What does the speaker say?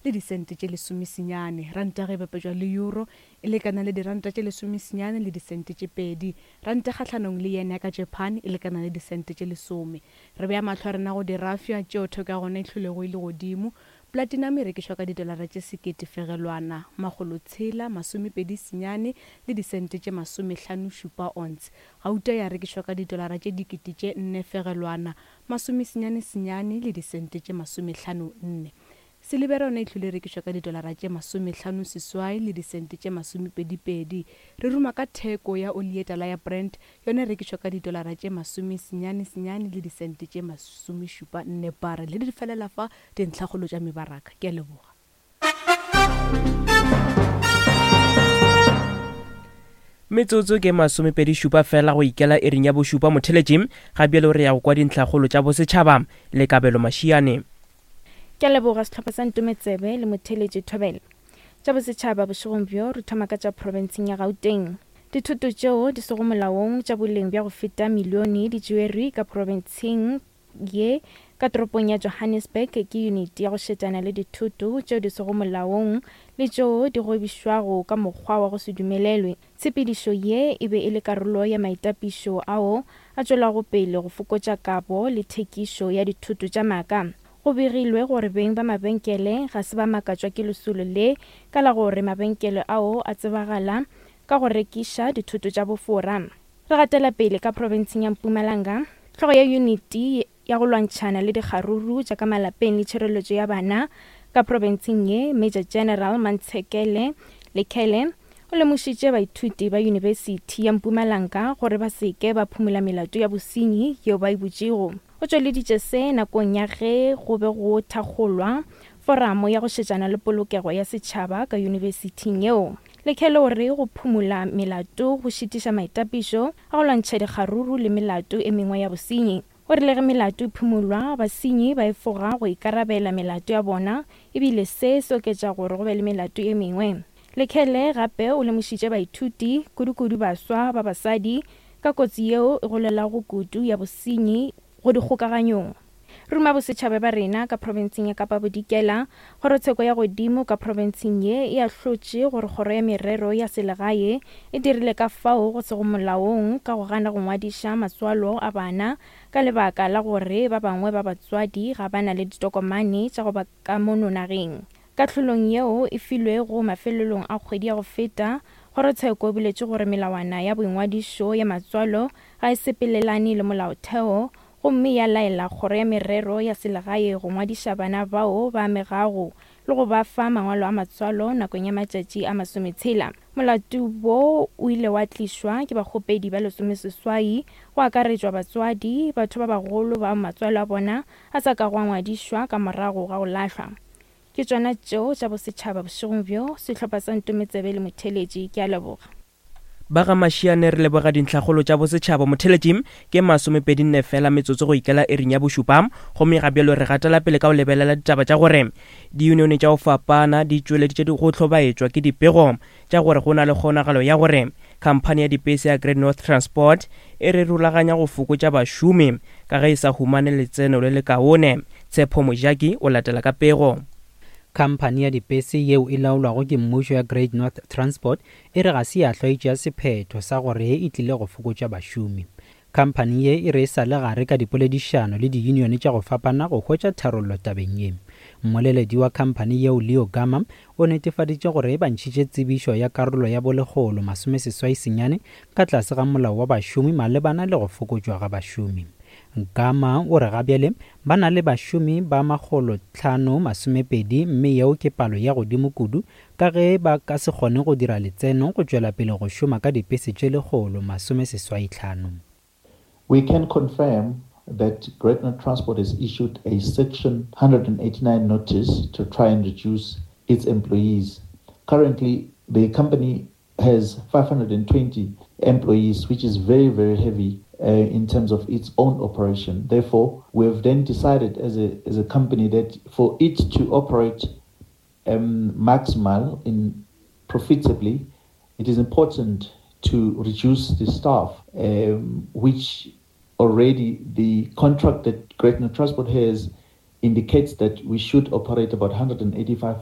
le disente tše lesomesenyane. Ranta ge e bapetšwa le euro e lekana le diranta tše lesomesenyane le disente tše pedi. Ranta kgahlanong le yen ya ka Japan e lekana le disente tše lesome. Re bea mahlo a rena go dirafša tšeo theko ya gona e hlwelego e le godimo. Platinum e rekišwa ka didolara tše sekete fegelwana, makgolotshela, masomepedi senyane le disente tše masomehlanošupa ounce. Gauta ya rekišwa ka didolara tše dikete tše nne fegelwana, masomesenyane senyane le disente tše masomehlano nne. Silibera yona e hlwele e rekišwa ka didolara tše masomehlano seswai le disente tše masomepedipedi. Re ruma ka theko ya oli ye tala ya Brent, yona e rekišwa ka didolara tše masomesenyane senyane le disente tše masomešupa nne barrel. Le di felela fa dintlhakgolo tša mebaraka. Ke a leboga. Metsotso ke masomepedi šupa fela go ikela iring ya bošupa motheletši. Ga bjalo re ya go kwa dintlhakgolo tša bosetšhaba le Kabelo Mašiane. Ke a leboga sehlopha sa Ntometsebe le motheeletši Thobela. Tša bosetšhaba bošegong bjo re thoma ka tša profenseng ya Gauteng. Dithoto tšeo di sego molaong tša boleng bja go feta milione di tšeerwe ka profenseng ye ka toropong ya Johannesburg ke yuniti ya go šetšana le dithoto tšeo di sego molaong le tšeo di gwebišwago ka mokgwa wa go se dumelelwe. Tshepedišo ye e be e le karolo ya maitapišo ao a tšwelago pele go fokotša kabo le thekišo ya dithoto tša maaka. Go begilwe gore beng ba mabenkele ga se ba makatšwa ke lesolo le ka la gore mabenkele ao a tsebagala ka go rekiša dithoto tša bofora. Re gatela pele ka profenseng ya Mpumalanga, hlogo ya yuniti ya go lwantšhana le dikgaruru tša ka malapeng le tšhireletšo ya bana ka profenseng ye, Major General Mantshekele Lekhele, o lemošitše baithuti ba Yunibesithi ya Mpumalanga gore ba se ke ba phumola melato ya bosenyi yeo ba e butšego. O tšweleditše se nakong ya ge go be go thakgolwa foramo ya go šetšana le polokego ya setšhaba ka yunibesithing yeo. Lekhele o re go phumola melato go šitiša maitapišo a go lwantšha dikgaruru le melato e mengwe ya bosenyi. O rile ge melato e phumolwa, basenyi ba efoga go ikarabela melato ya bona e bile se se oketša gore go be le melato e mengwe. Lekhele gape o lemošitše baithuti, kudukudu baswa ba basadi, ka kotsi yeo e golelago kudu ya bosenyi go dikgokaganyong. Ruma bosetšhaba ba rena ka profenseng ya Kapa Bodikela, Kgorotsheko ya godimo ka profenseng ye e ahlotše gore Kgoro ya Merero ya Selegae e dirile ka fao go sego molaong ka go gana go ngwadiša matswalo a bana ka lebaka la gore ba bangwe ba batswadi ga ba na le ditokomane tša go ba ka mono nageng. Kahlolong yeo e filwego mafelelong a kgwedi ya go feta, kgorotsheko e boletše gore melawana ya boingwadišo ya matswalo ga e sepelelane le molaotheo gomme ya laela Kgoro ya Merero ya Selegae go ngwadiša bana bao ba amegago le go ba fa mangwalo a matswalo nakong ya matšatši a masometshela. Molato wo o ile wa tlišwa ke bakgopedi ba lesomeseswai, go akaretšwa batswadi, batho ba bagolo bao matswalo a bona a sa kago a ngwadišwa ka morago ga go lahlwa. Ke tšona tšeo tša bosetšhaba bošegong bjo, sehlopha sa Ntometsebe le Motheeletši. Ke a leboga. Ba ga Mashiane re leboga dintlhakgolo tša bosetšhaba. Motheeletši, ke masomepedinne fela metsotso go ikela iring ya bošupa, gomme ga bjalo re gatela pele ka go lebelela ditaba tša gore diyunione tša go fapana di tšweleditše go hlobaetšwa ke dipego tša gore go na le kgonagalo ya gore khamphani ya dipese ya Great North Transport e re rulaganya go fokotša bašomi ka ge e sa humane letseno le lekaone. Tshepo Mojaki o latela ka pego. Khamphani ya dipese yeo e laolwago ke mmušo ya Great North Transport E re ga se ya hlwa e tšea sephetho sa gore e tlile go fokotša bašomi. Khamphani ye e re e sa le gare ka dipoledišano le diyunione tša go fapana go hwetša tharollo tabeng ye. Mmoleledi wa khamphani yeo Leo Gama o netefaditše gore ba ntšhitše tsebišo ya karolo ya bolekgolo masomeseswai senyane ka tlase ga molao wa bašomi malebana le go fokotšwa ga bašomi. Gama o re gabjale ba na le bašomi ba makgolotlhano masomepedi mme yeo ke palo ya godimo kudu Ka ge ba ka se kgone go dira letseno go tšwela pele go šoma ka dipese tše lekgolo masomeseswaitlhano. We can confirm that Great North Transport has issued a Section 189 notice to try and reduce its employees. Currently, the company has 520 employees, which is very, very heavy uh, in terms of its own operation. Therefore, we have then decided as a, as a company that for it to operate um, maximal in profitably, it is important to reduce the staff, um, which already the contract that Great North Transport has indicates that we should operate about 185